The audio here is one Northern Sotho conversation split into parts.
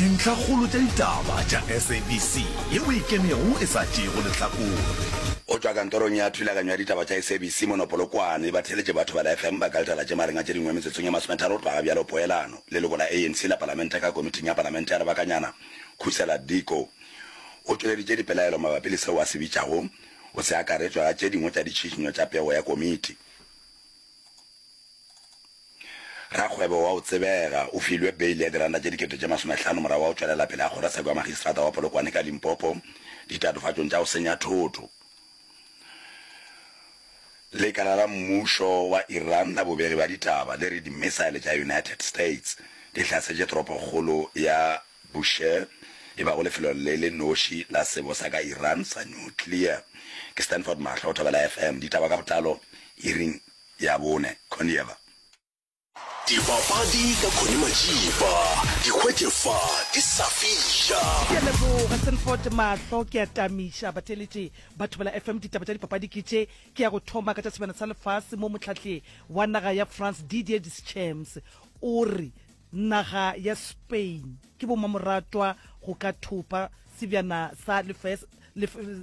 Dintlhakgolo tša ditaba tša SABC yeo e kenego e sa tšeego lehlakore. Go tšwa kantorong ya thulaganyo ya ditaba tša SABC mono Polokwane, batheeletši ba Thobela FM ba ka letela tše magareng a tše dingwe metsotsong ye masometharo go tloga ga bjalo Poelano, leloko la ANC la Palamente ka Komiting ya Palamente ya Lebakanyana, Khusela Diko, o tšweleditše dipelaelo mabapi le seo a se bitšago go se akaretšwa ga tše dingwe tša ditšhišinyo tša pego ya komiti. Rakgwebo wa go tsebega o filwe beile ya diranta tše dikete tše masomehlano morago ga go tšwelela pele ga kgorotsheko ya magistrata wa Polokwane ka Limpopo ditatofatšong tša go senya thoto. Lekala la mmušo wa Iran la bobegi bja ditaba le re di-missile tša United States di hlasetše toropokgolo ya Bushehr, e bago lefelo le le noši la sebo sa ka Iran sa nuclear. Ke Stanford Mahlo, Thobela FM. Ditaba ka botlalo iring ya bone. Khondieva. Dipapadi ka Connie Majiba, di hwetše fa di sa fiša. Ke a leboga Sanford Mahlo, ke a tamiša batheeletši ba Thobela FM. Ditaba tša dipapadi ke tše, ke ya go thoma ka tša Sebjana sa Lefase mo mohlahli wa naga ya France Didier Deschamps o re naga ya Spain ke bomamoratwa go ka thopa sebjana sa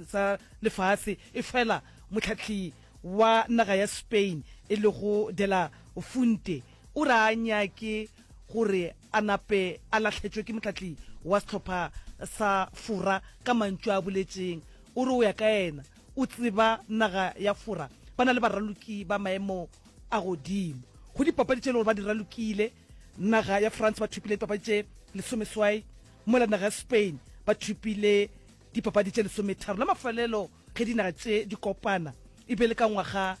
sa lefase efela mohlahli wa naga ya Spain e lego De La Fuente o re a nyake gore a nape a lahletšwe ke mohlahli wa sehlopha sa Fora ka mantšu a boletšeng. O re o ya ka yena o tseba naga ya Fora ba na le baraloki ba maemo a godimo go dipapadi tše e le gore ba di ralokile. Naga ya France ba thopile dipapadi tše lesomeswai mola naga ya Spain ba thopile dipapadi tše lesometharo. La mafelelo Ge dinaga tše di kopana e be le ka ngwaga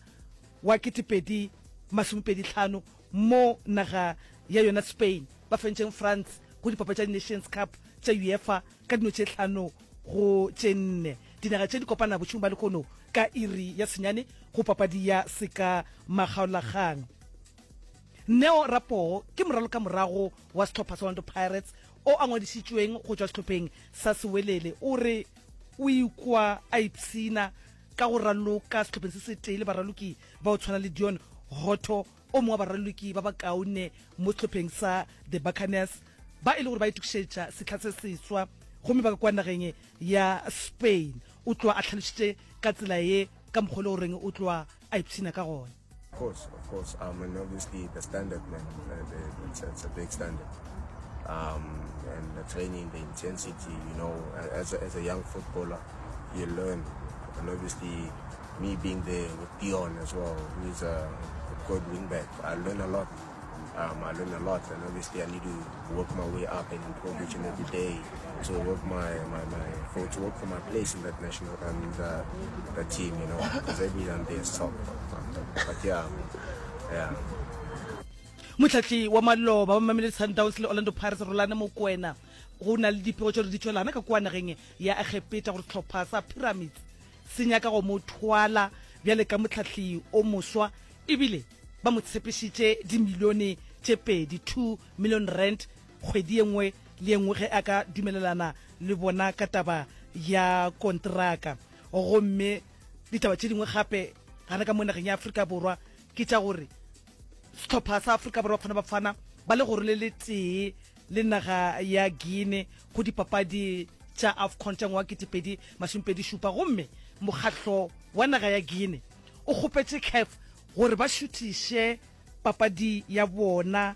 wa 2025 mo naga ya yona Spain ba fentšeng France go dipapadi tša di-Nations Cup tša UEFA ka dino tše hlano go tše nne. Dinaga tše di kopana bošegong ba lehono ka iri ya senyane go papadi ya seka makgaolakgang. Neo Rapoo ke moralokamorago wa sehlopha sa Orlando Pirates o a ngwadišitšweng go tšwa sehlopheng sa Sewelele o re O ikwa a ipshina ka go raloka sehlopheng se setee le baraloki ba go tshwana le Deon Hotto, o mongwe wa baraloki ba bakaone mo sehlopheng sa The Buccaneers, ba e le gore ba itokišetša sehla se seswa gomme ba ka kwa nageng ya Spain. O tloga a hlalošitše ka tsela ye ka mokgwa o le goreng o tloga a ipshina ka gona. Of course, of course. Um, and obviously the standard, man, it's, it's a big standard. Um, and the training, the intensity, you know, as a, as a young footballer, you learn. And obviously, me being there with Dion as well, who is a, a good wingback, I learn a lot. Um, I learn a lot, and obviously I need to work my way up and improve each and every day to work my, my, my for to work for my place in that national and uh, the team, you know, because everyone there is top. But yeah, yeah. Mohlahli wa maloba wa Mamelodi Sundowns le Orlando Pirates Rulani Mokwena go na le dipego tše gore di tšwelana ka kua nageng ya Egepeta gore sehlopha sa Pyramids se nyaka go mo thwala bjale ka mohlahli o moswa ebile ba mo tshepišitše dimilione tše pedi, R2 million, kgwedi ye nngwe le ye nngwe ge a ka dumelelana le bona ka taba ya kontraka. Gomme ditaba tše dingwe gape gana ka mo nageng ya Afrika Borwa ke tša gore sehlopha sa Afrika Borwa Bafana Bafana ba le gore le letee le naga ya Guinea go dipapadi tša AFCON tša ngwaga 2027 gomme mokgahlo wa naga ya Guinea o kgopetše CAF gore ba šuthiše papadi ya bona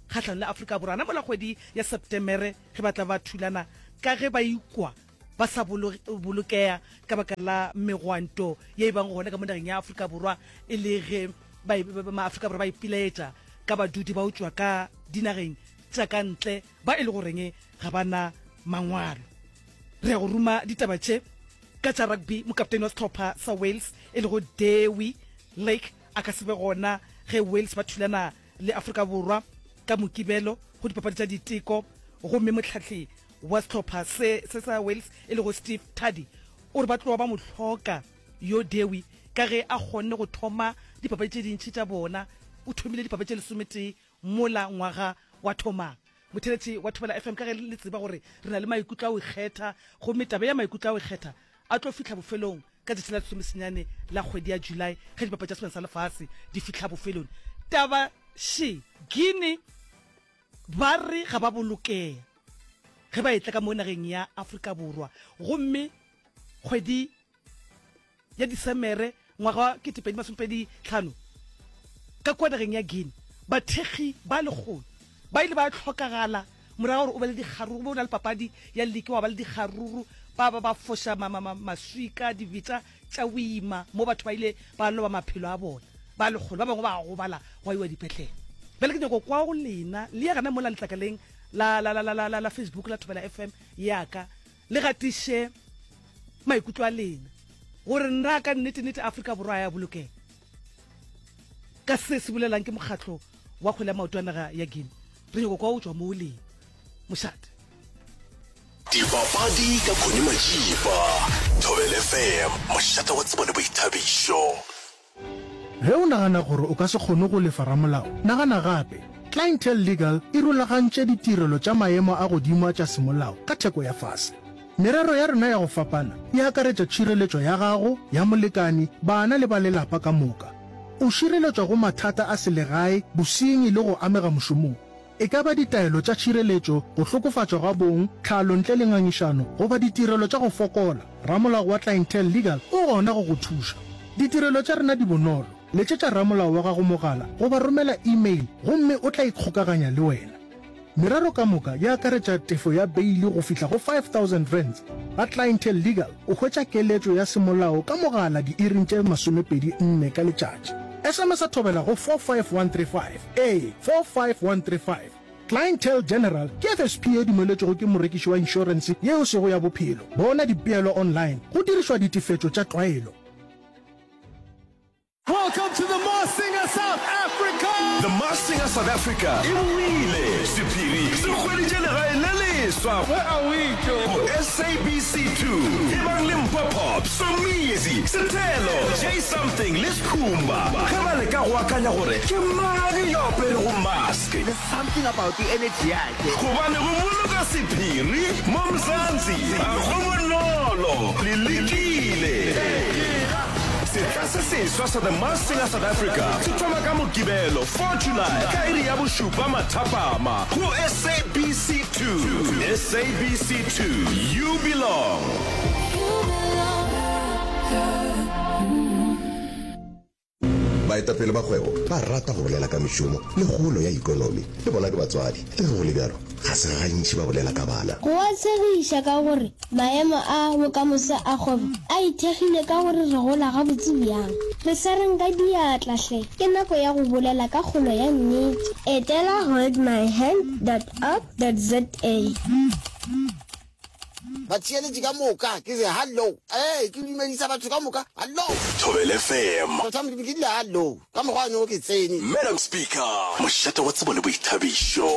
kgahlanong le Afrika Borwa gana mola kgwedi ya Septemere ge ba tla ba thulana ka ge ba ikwa ba sa bolokea ka baka la megwanto ye e bang gona ka mo nageng ya Afrika Borwa e le ge Maafrika Borwa ba ipilaetša ka badudi ba go tšwa ka dinageng tša ka ntle ba e le goreng ga ba na mangwalo. Re ya go ruma ditaba tše ka tša rugby. Mokaptene wa sehlopha sa Wales e lego Dewi Lake a ka se be gona ge Wales ba thulana le Afrika Borwa ka Mokibelo go dipapadi tša diteko gomme mohlahli wa sehlopha se se sa Wales e lego Steve Tardy o re ba tloga ba mo hloka yo Dewi ka ge a kgonne go thoma dipapadi tše dintši tša bona. O thomile dipapadi tše lesometee mola ngwaga wa thomang. Motheeletši wa Thobela FM, ka ge le tseba gore re na le maikutlo a go ikgetha, gomme taba ya maikutlo a go ikgetha a tlo fihla bofelong ka tšatši la lesomesenyane la kgwedi ya July ge dipapadi tša Sebjana sa Lefase di fihla bofelong. Taba še, Guinea ba re ga ba bolokea. ge ba etla ka mo nageng ya Afrika Borwa gomme kgwedi ya Disemere ngwaga wa 2025 ka kua nageng ya Guinea, bathekgi ba lekgolo ba ile ba hlokagala morago ga gore o be le dikgaruru, o be o na le papadi ya liki wa ba le dikgaruru, ba ba ba foša ma, ma, ma, maswika, dibetša tša boima mo batho ba ile ba loba maphelo a bona ba lekgolo, ba bangwe ba gobala gwa iwa dipetlele. Bjale ke nyako kwa go lena, le ye gana mola letlakaleng la, la, la, la, la, la, la Facebook la Thobela FM ya ka, Le gatiše maikutlo a lena gore na ka nnete-nnete Afrika Borwa ya bolokega ka se se bolelang ke mokgatlo wa kgwele ya maoto a naga ya Guinea. Re nyoko kwa o tšwa mo o leng. Mošate. Dipapadi ka Connie Majiba, Thobela FM, mošate wa tsebo le boithabišo. Ge o nagana gore o ka se kgone go lefa ramolao, nagana gape. Clientele Legal e rulagantše ditirelo tša maemo a godimo a tša semolao ka theko ya fase. Merero ya rena ya go fapana e akaretša tšhireletšo ya gago, ya molekani, bana le ba lelapa ka moka. O šireletšwa go mathata a selegae, bosenyi le go amega mošomong. E ka ba ditaelo tša tšhireletšo, go hlokofatšwa ga bong, tlhalo ntle le ngangišano, goba ditirelo tša go fokola, ramolao wa Clientele Legal o gona go go thuša. Ditirelo tša rena di bonolo, letšetša ramolao wa gago mogala goba romela e-mail gomme o tla ikgokaganya le wena. Merero ka moka e akaretša tefo ya beili go fihla go R5000. Ga Clientele Legal o hwetša keletšo ya semolao ka mogala diiring tše 24 ka letšatši. SMS-a thobela go 45135. Ee, 45135. Clientele General ke FSP ye dumeletšwego ke morekiši wa inšorense ye e sego ya bophelo. Bona dipeelo online go dirišwa ditefetšo tša tlwaelo. Welcome to the Masked Singer South Africa! The Masked Singer South Africa e boile! Sephiri se hweditše legae le leswa Where are we, Joe? go SABC 2. Ebang le Mpho Pop, Somizi, Sethelo, J Something le Skhumba ge ba leka go akanya gore ke mang yo aperego mask. There's something about the energy yake. Gobane go boloka sephiri mo Mzansi ga go bonolo. Le lekile. Sehla se seswa sa The Masked Singer South Africa se thoma ka Mokibelo, 4 July ka iri ya bošupa mathapama go SABC 2. SABC 2, you belong. Baetapele ba kgwebo ba rata go bolela ka mešomo le kgolo ya ikonomi. Le bona ke batswadi. Le ge go le bjalo, ga se gantši ba bolela ka bana. Go a tshegiša ka gore maemo a bokamoso a kgwebo a ithekgile ka gore re gola gabotse bjang. Re swareng ka diatla hle, ke nako ya go bolela ka kgolo ya nnete. Etela holdmyhand dot org dot za. Batheeletši ka moka ke re hallo. Ee, ke dumedisa batho ka moka hallo. Thobela FM. Tota Modimo ke rile hallo ka mokgwa wa no ke tsene. Madam Speaker. Mošate wa tsebo le boithabišo.